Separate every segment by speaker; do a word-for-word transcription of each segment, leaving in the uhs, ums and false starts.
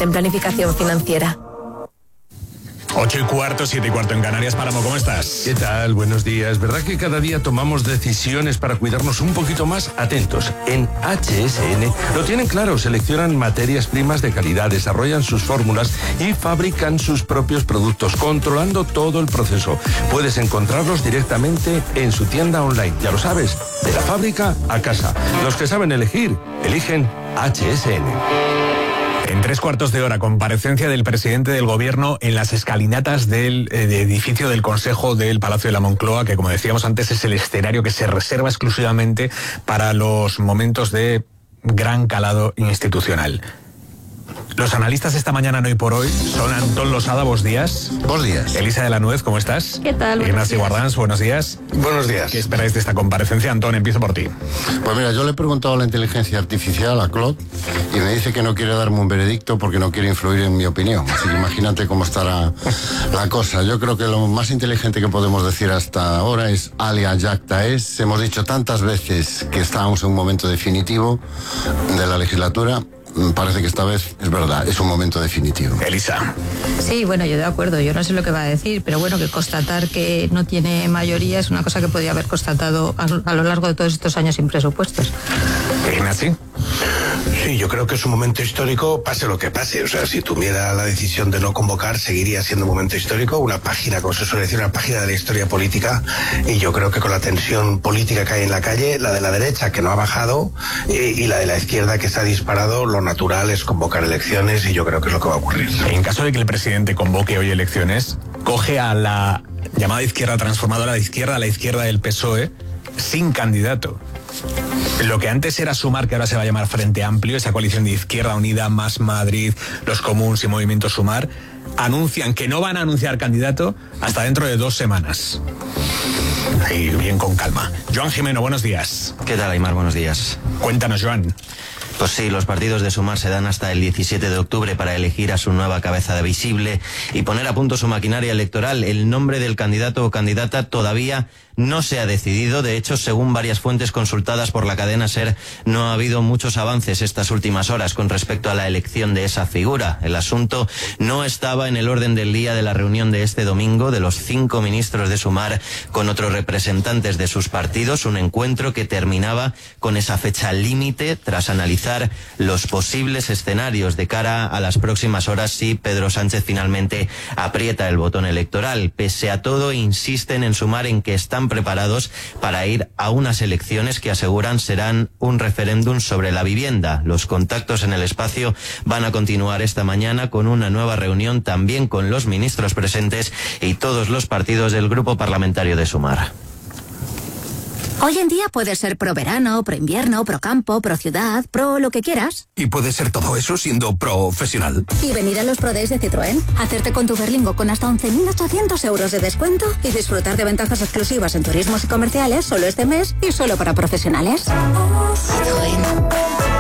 Speaker 1: en planificación financiera.
Speaker 2: Ocho y cuarto, siete y cuarto en Canarias. Páramo, ¿cómo estás?
Speaker 3: ¿Qué tal? Buenos días. ¿Verdad que cada día tomamos decisiones para cuidarnos un poquito más? Atentos. En H S N lo tienen claro. Seleccionan materias primas de calidad, desarrollan sus fórmulas y fabrican sus propios productos, controlando todo el proceso. Puedes encontrarlos directamente en su tienda online. Ya lo sabes, de la fábrica a casa. Los que saben elegir, eligen H S N.
Speaker 2: En tres cuartos de hora, comparecencia del presidente del gobierno en las escalinatas del eh, de edificio del Consejo del Palacio de la Moncloa, que como decíamos antes es el escenario que se reserva exclusivamente para los momentos de gran calado institucional. Los analistas esta mañana, no hoy por hoy, son Antón Losada, buenos días.
Speaker 4: Buenos días.
Speaker 2: Elisa de la Nuez, ¿cómo estás?
Speaker 1: ¿Qué tal?
Speaker 2: Ignacio Guardans, buenos días.
Speaker 4: Buenos días.
Speaker 2: ¿Qué esperáis de esta comparecencia? Antón, empiezo por ti.
Speaker 4: Pues mira, yo le he preguntado a la inteligencia artificial, a Claude, y me dice que no quiere darme un veredicto porque no quiere influir en mi opinión. Así que imagínate cómo estará la cosa. Yo creo que lo más inteligente que podemos decir hasta ahora es alia jacta es. Hemos dicho tantas veces que estábamos en un momento definitivo de la legislatura. Parece que esta vez es verdad, es un momento definitivo.
Speaker 2: Elisa.
Speaker 5: Sí, bueno, yo de acuerdo, yo no sé lo que va a decir, pero bueno, que constatar que no tiene mayoría es una cosa que podía haber constatado a, a lo largo de todos estos años sin presupuestos.
Speaker 2: Ignacio.
Speaker 6: Sí, yo creo que es un momento histórico, pase lo que pase. O sea, si tuviera la decisión de no convocar, seguiría siendo un momento histórico, una página, como se suele decir, una página de la historia política. Y yo creo que con la tensión política que hay en la calle, la de la derecha que no ha bajado y, y la de la izquierda que se ha disparado, lo natural es convocar elecciones y yo creo que es lo que va a ocurrir.
Speaker 2: En caso de que el presidente convoque hoy elecciones, coge a la llamada izquierda transformadora de izquierda, a la izquierda del P S O E, sin candidato. Lo que antes era Sumar, que ahora se va a llamar Frente Amplio, esa coalición de Izquierda Unida, Más Madrid, Los Comuns y Movimiento Sumar, anuncian que no van a anunciar candidato hasta dentro de dos semanas. Y bien con calma. Joan Jimeno, buenos días.
Speaker 7: ¿Qué tal, Aymar? Buenos días.
Speaker 2: Cuéntanos, Joan.
Speaker 7: Pues sí, los partidos de Sumar se dan hasta el diecisiete de octubre para elegir a su nueva cabeza de visible y poner a punto su maquinaria electoral. El nombre del candidato o candidata todavía no se ha decidido. De hecho, según varias fuentes consultadas por la cadena SER, no ha habido muchos avances estas últimas horas con respecto a la elección de esa figura. El asunto no estaba en el orden del día de la reunión de este domingo de los cinco ministros de Sumar con otros representantes de sus partidos, un encuentro que terminaba con esa fecha límite tras analizar los posibles escenarios de cara a las próximas horas si Pedro Sánchez finalmente aprieta el botón electoral. Pese a todo, insisten en Sumar en que están preparados para ir a unas elecciones que aseguran serán un referéndum sobre la vivienda. Los contactos en el espacio van a continuar esta mañana con una nueva reunión también con los ministros presentes y todos los partidos del grupo parlamentario de Sumar.
Speaker 8: Hoy en día puedes ser pro verano, pro invierno, pro campo, pro ciudad, pro lo que quieras.
Speaker 9: Y puedes ser todo eso siendo profesional.
Speaker 8: Y venir a los Pro Days de Citroën, hacerte con tu Berlingo con hasta once mil ochocientos euros de descuento y disfrutar de ventajas exclusivas en turismos y comerciales solo este mes y solo para profesionales. Citroën.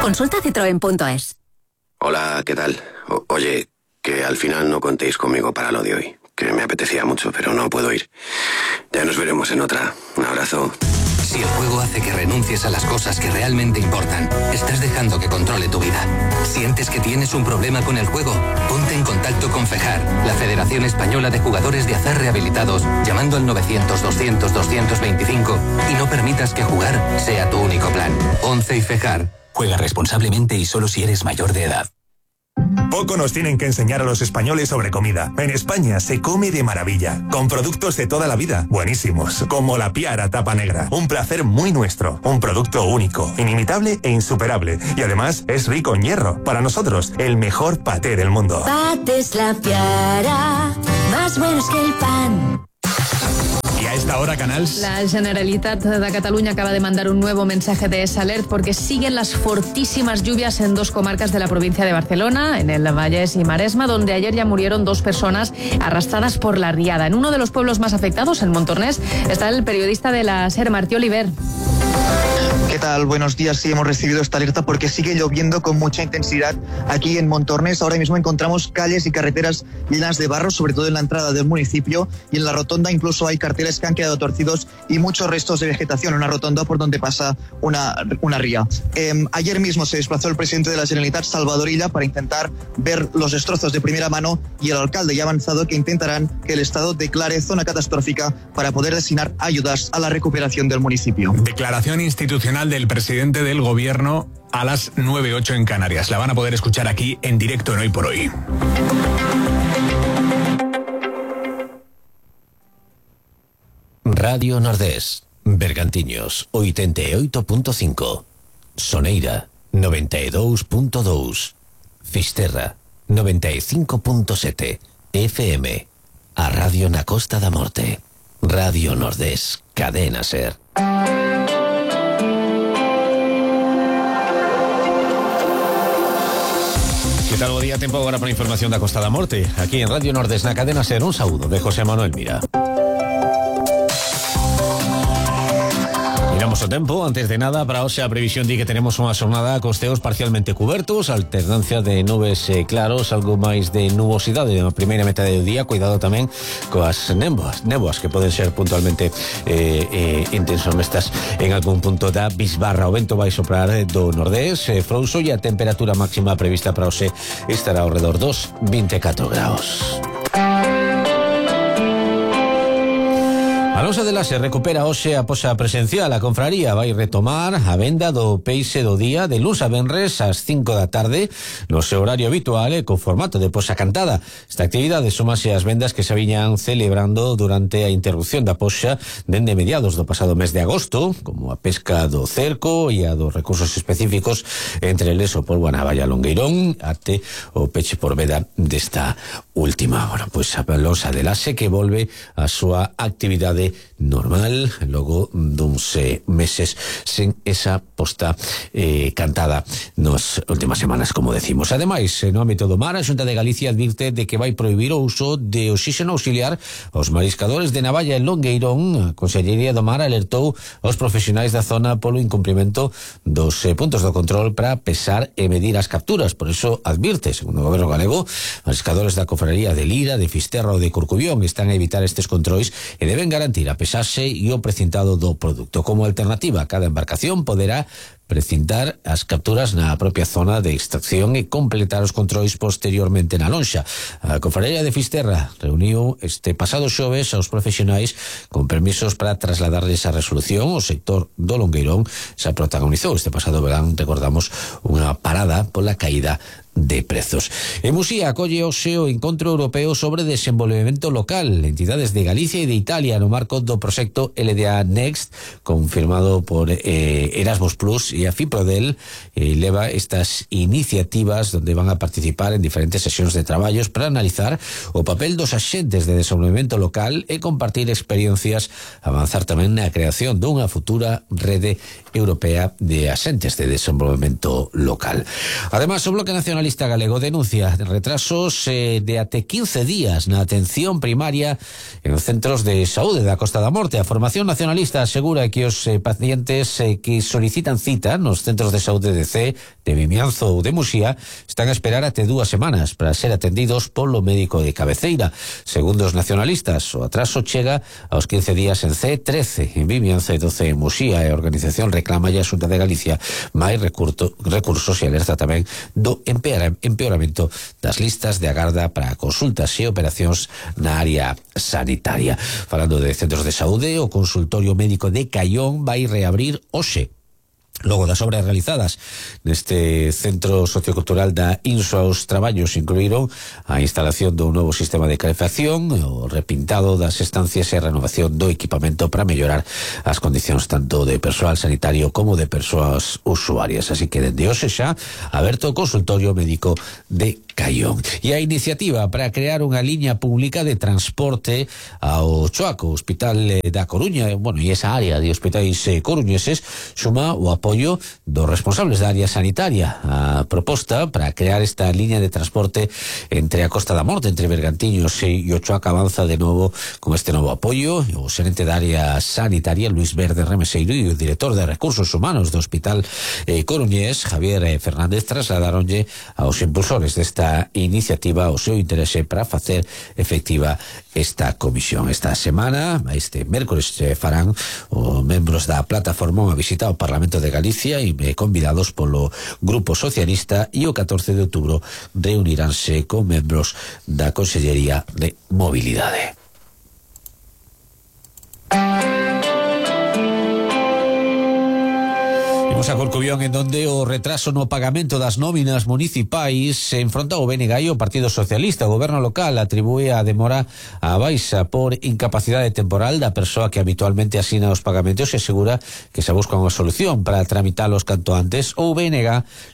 Speaker 8: Consulta citroen punto es.
Speaker 10: Hola, ¿qué tal? O- oye, que al final no contéis conmigo para lo de hoy, que me apetecía mucho, pero no puedo ir. Ya nos veremos en otra. Un abrazo.
Speaker 9: Si el juego hace que renuncies a las cosas que realmente importan, estás dejando que controle tu vida. ¿Sientes que tienes un problema con el juego? Ponte en contacto con FEJAR, la Federación Española de Jugadores de Azar Rehabilitados, llamando al novecientos, doscientos, doscientos veinticinco y no permitas que jugar sea tu único plan. once y FEJAR.
Speaker 11: Juega responsablemente y solo si eres mayor de edad.
Speaker 12: Poco nos tienen que enseñar a los españoles sobre comida. En España se come de maravilla, con productos de toda la vida, buenísimos, como la Piara Tapa Negra. Un placer muy nuestro, un producto único, inimitable e insuperable. Y además es rico en hierro. Para nosotros, el mejor paté del mundo.
Speaker 13: Patés La Piara, más buenos que el pan.
Speaker 2: I a esta hora, Canals.
Speaker 14: La Generalitat de Cataluña acaba de mandar un nuevo mensaje de alert porque siguen las fortísimas lluvias en dos comarcas de la provincia de Barcelona, en el Vallès y Maresma, donde ayer ya murieron dos personas arrastradas por la riada. En uno de los pueblos más afectados, en Montornès, está el periodista de la SER, Martí Oliver.
Speaker 15: ¿Qué tal? Buenos días. Sí, hemos recibido esta alerta porque sigue lloviendo con mucha intensidad aquí en Montornès. Ahora mismo encontramos calles y carreteras llenas de barro, sobre todo en la entrada del municipio, y en la rotonda incluso hay carteles que han quedado torcidos y muchos restos de vegetación, una rotonda por donde pasa una, una ría. Eh, ayer mismo se desplazó el presidente de la Generalitat, Salvador Illa, para intentar ver los destrozos de primera mano, y el alcalde ya ha avanzado que intentarán que el Estado declare zona catastrófica para poder destinar ayudas a la recuperación del municipio.
Speaker 2: Declaración institucional del presidente del gobierno a las nueve ocho en Canarias. La van a poder escuchar aquí en directo en Hoy por Hoy.
Speaker 16: Radio Nordés, Bergantiños, ochenta y ocho punto cinco, Soneira, noventa y dos punto dos, Fisterra, noventa y cinco punto siete, F M, a Radio na Costa da Morte, Radio Nordés, Cadena Ser. ¿Qué tal? Bo día, tempo agora para a información da Costa da Morte. Aquí en Radio Nordés, na Cadena Ser, un saúdo de José Manuel Mira. Miramos o tempo, antes de nada, para hoxe a previsión di que tenemos unha xornada cos ceos parcialmente cubertos, alternancia de nubes eh, claros, algo máis de nubosidade na primeira metade do día, cuidado tamén coas néboas, néboas que poden ser puntualmente eh, eh, intensomestas en algún punto da bisbarra. O vento vai soprar do nordés, eh, frouxo, e a temperatura máxima prevista para hoxe estará ao redor dos vinte e catro graus. Alonso de la se recupera hoxe a posa presencial. A confraría vai retomar a venda do peixe do día de luns a venres ás cinco da tarde no seu horario habitual e co formato de posa cantada. Esta actividade súmase ás vendas que se viñan celebrando durante a interrupción da poxa dende mediados do pasado mes de agosto, como a pesca do cerco e a dos recursos específicos, entre eles o polvo a navalla longueirón até o peche por veda desta última. Bueno, pois a Alonso de la se que volve a súa actividade normal logo duns eh, meses sen esa posta eh, cantada nas últimas semanas, como decimos. Ademais, no ámbito do mar, a Xunta de Galicia advirte de que vai prohibir o uso de oxígeno auxiliar aos mariscadores de Navalla e Longueirón. A Consellería do Mar alertou aos profesionais da zona polo incumprimento dos eh, puntos do control para pesar e medir as capturas. Por eso advirte, segundo o goberno galego, mariscadores da Cofraría de Lira, de Fisterra ou de Corcubión están a evitar estes controis e deben garantir a pesarse e o precintado do produto. Como alternativa, cada embarcación poderá precintar as capturas na propia zona de extracción e completar os controis posteriormente na lonxa. A Cofraría de Fisterra reuniu este pasado xoves aos profesionais con permisos para trasladarles a resolución. O sector do Longueirón xa protagonizou este pasado verán, recordamos, unha parada pola caída de prezos. En Muxía acolle hoxe o Encontro Europeo sobre Desenvolvemento Local, entidades de Galicia e de Italia no marco do proxecto L D A Next, confirmado por eh, Erasmus Plus e a FIPRODEL, eh, leva estas iniciativas donde van a participar en diferentes sesións de traballos para analizar o papel dos axentes de desenvolvemento local e compartir experiencias, avanzar tamén na creación dunha futura rede europea de axentes de desenvolvemento local. Además, o Bloque Nacional Galego denuncia retrasos eh, de até quince días na atención primaria en os centros de saúde da Costa da Morte. A Formación Nacionalista asegura que os eh, pacientes eh, que solicitan cita nos centros de saúde de C, de Vimianzo ou de Muxía están a esperar até dúas semanas para ser atendidos polo médico de cabeceira. Segundo os nacionalistas, o atraso chega aos quince días en C, trece en Vimianzo e doce en Muxía, e a organización reclama a Xunta de Galicia máis recurso, recursos e alerta tamén do empeoramento empeoramento das listas de agarda para consultas e operacións na área sanitaria. Falando de centros de saúde, o consultorio médico de Caión vai reabrir hoxe. Logo das obras realizadas neste centro sociocultural da Inso, os traballos incluíron a instalación dun novo sistema de calefacción, o repintado das estancias e a renovación do equipamento para mellorar as condicións tanto de persoal sanitario como de persoas usuarias. Así que dende hoxe xa aberto o consultorio médico de Caión. E a iniciativa para crear unha liña pública de transporte ao Choaco, Hospital da Coruña, bueno, e esa área de hospitais eh, coruñeses, suma o apoio dos responsables da área sanitaria. A proposta para crear esta liña de transporte entre a Costa da Morte, entre Bergantiños e o Choaco, avanza de novo con este novo apoio. O xerente da área sanitaria, Luis Verde Remeseiro, e o director de Recursos Humanos do Hospital eh, Coruñés, Javier eh, Fernández, trasladaronlle aos impulsores desta iniciativa o seu interese para facer efectiva esta comisión. Esta semana, este mércores, eh, farán os membros da plataforma unha visita ao Parlamento de Galicia e eh, convidados polo Grupo Socialista, e o catorce de outubro reuniránse con membros da Consellería de Mobilidade. Imos a Corcubión, en donde o retraso no pagamento das nóminas municipais se enfronta o B N G e o Partido Socialista. O goberno local atribúe a demora a baixa por incapacidade temporal da persoa que habitualmente asina os pagamentos e asegura que se busca unha solución para tramitalos canto antes. O B N G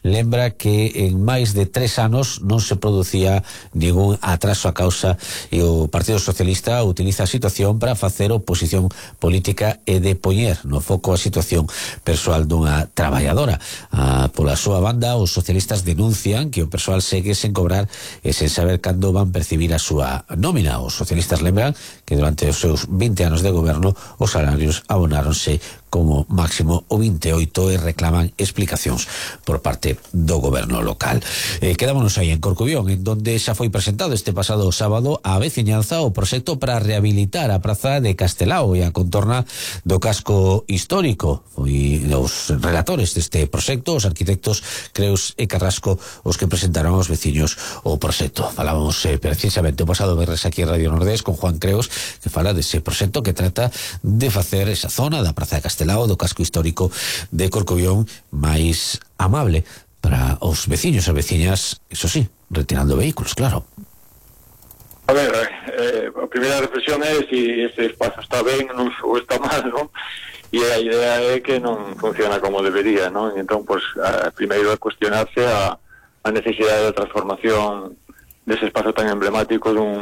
Speaker 16: lembra que en máis de tres anos non se producía ningún atraso a causa, e o Partido Socialista utiliza a situación para facer oposición política e de poñer no foco a situación persoal dunha traballadora. Ah, pola súa banda, os socialistas denuncian que o persoal segue sen cobrar e sen saber cando van percibir a súa nómina. Os socialistas lembran que durante os seus vinte anos de goberno os salarios abonáronse como máximo o vinte e oito e reclaman explicacións por parte do goberno local. Eh, quedámonos aí en Corcubión, en donde xa foi presentado este pasado sábado a veciñanza o proxecto para rehabilitar a praza de Castelao e a contorna do casco histórico. Foi os relatores deste proxecto, os arquitectos Creus e Carrasco, os que presentaron aos veciños o proxecto. Falábamos eh, precisamente o pasado verres aquí en Radio Nordés con Juan Creus, que fala dese proxecto que trata de facer esa zona da praza de Castelao, lado do casco histórico de Corcubión máis amable para os veciños e veciñas, eso sí, retirando vehículos, claro.
Speaker 17: A ver, eh, a primeira reflexión é se ese espazo está ben ou está mal, non? E a idea é que non funciona como debería, non? Entón, pues, a, primeiro é cuestionarse a, a necesidade de transformación dese espazo tan emblemático dun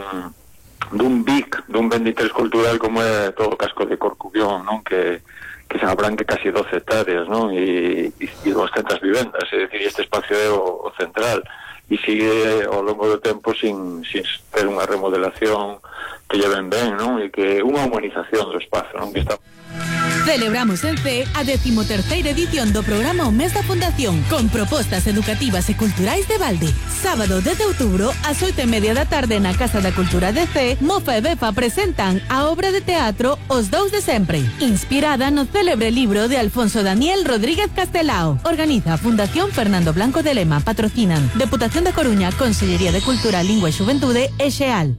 Speaker 17: dun B I C, dun ben de interés cultural como é todo o casco de Corcubión, non? Que que se abranque casi doce hectáreas, non? E, e, e doscientas vivendas, é dicir, este espacio é o, o central, e sigue ao longo do tempo sin, sin ter unha remodelación que lleven ben, non? E que unha humanización do espazo, non? Que está...
Speaker 18: Celebramos en C a decimoterceira edición do programa O Mes da Fundación, con propostas educativas e culturais de balde. Sábado dez de outubro, ás oito e media da tarde na Casa da Cultura de C, Mofa e Befa presentan a obra de teatro Os Dous de Sempre, inspirada no célebre libro de Alfonso Daniel Rodríguez Castelao. Organiza a Fundación Fernando Blanco de Lema. Patrocinan Deputación da Coruña, Consellería de Cultura, Lingua e Xuventude e Xeal.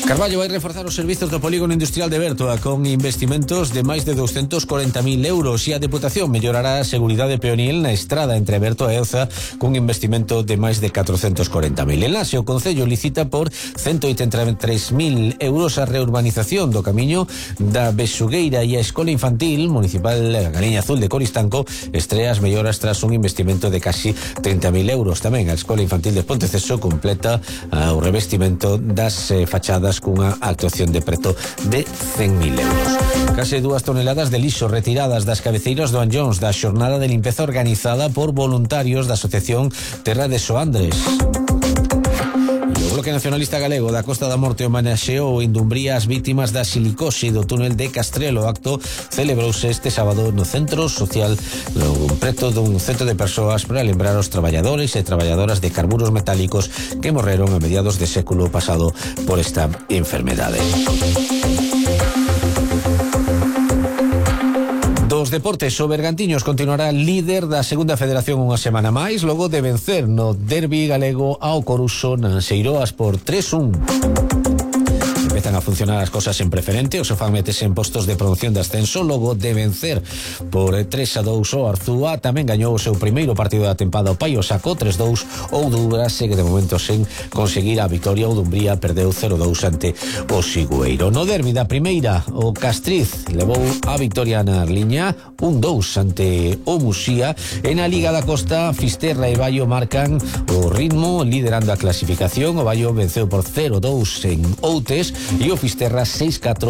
Speaker 16: Carballo vai reforzar os servizos do polígono industrial de Bertoa con investimentos de máis de doscientos corenta mil euros, e a Deputación mellorará a seguridade peonil na estrada entre Bertoa e Elza cun investimento de máis de catrocentos corenta mil. En Laxe, o Concello licita por ciento oitenta e tres mil euros a reurbanización do camiño da Bexugueira, e a Escola Infantil Municipal Galiña Azul de Coristanco estrea as melloras tras un investimento de casi trinta mil euros. Tamén a Escola Infantil de Ponteceso completa uh, o revestimento das eh, fachadas cunha actuación de preto de cen mil euros. Case dúas toneladas de lixo retiradas das cabeceiras do Anllóns da xornada de limpeza organizada por voluntarios da Asociación Terra de Soandres. O Bloque Nacionalista Galego da Costa da Morte homenaxeou en Dumbría as vítimas da silicose do túnel de Castrelo. O acto celebrouse este sábado no Centro Social, no preto dun centro de persoas para lembrar os traballadores e traballadoras de carburos metálicos que morreron a mediados de século pasado por esta enfermedade. Dos deportes, o Bergantiños continuará líder da segunda federación unha semana máis, logo de vencer no derbi galego ao Coruxo nas Eiroas por tres un. empezan a funcionar as cosas en preferente, o Sofán metese en postos de promoción de ascenso logo de vencer por tres a dous o Arzúa. Tamén gañou o seu primeiro partido da tempada o Paio, sacou tres dous. O Dubra segue de momento sen conseguir a victoria. O Dumbría perdeu cero dous ante o Sigüeiro. No derbi da primeira, o Castriz levou a victoria na liña un dous ante o Musía. En a Liga da Costa, Fisterra e Baio marcan o ritmo liderando a clasificación. O Baio venceu por cero dous en Outes e o Fisterra seis catro